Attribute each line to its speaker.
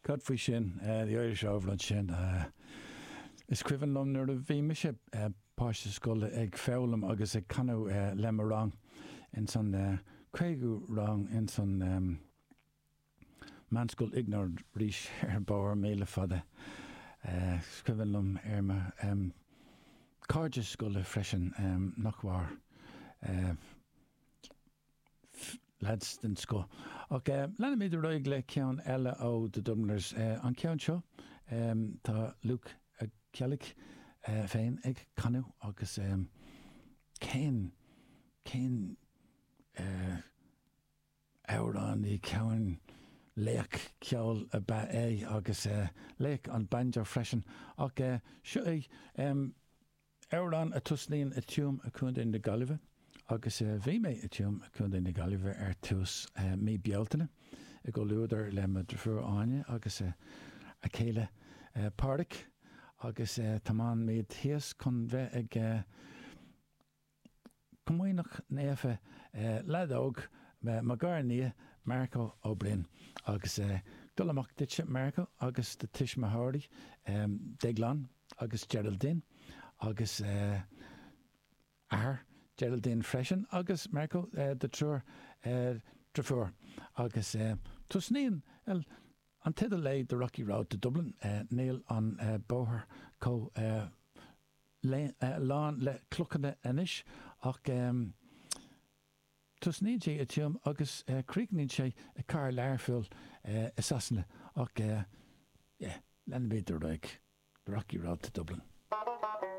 Speaker 1: Cad faoi sin? The Irish Rover ansin. Is cuimhin liom nuair a bhí mise páiste scoile ag foghlaim agus ag canadh le mo rang ins an 5ú rang ins an Meánscoil Iognáid Rís ar Bhóthar Míle Fada. Is cuimhin liom ar mo chairde scoile freisin nach mhair. Lads den scoth. Ach leanfaimid ar aghaidh le ceann eile ó The Dubliners. An ceann seo, tá Luke Ó Ceallaigh féin ag canadh agus cén, cén amhránaí, cén laoch ceoil ab ea é agus laoch an banjo freisin. Ach seo é. Amhrán a tosnaíonn i Tuaim i Contae na Gaillimhe agus bhí mé i Tuaim i Contae na Gaillimhe ar tús mí Bealtaine i gcomhluadar le mo dheirfiúr Áine agus a céile Pádraic agus tiomáin muid thíos chun bheith ag Comaoineach Naofa leaid óg, mo ghar-nia, Marco Ó Broin. Agus dul amach duitse, Marco, agus do tuismitheoirí, Déaglán agus Geraldine, agus athair Geraldine freisin, agus Marco, do triúr driofúr. Agus tosnaíonn an teideal é The Rocky Road to Dublin, níl an bóthar chomh lán le clochanna anois ach tosnaíonn sé i Tuaim agus críochnaíonn sé i cathair Learphoill i Sasana ach yeah, leanfaimid ar aghaidh, The Rocky Road to Dublin.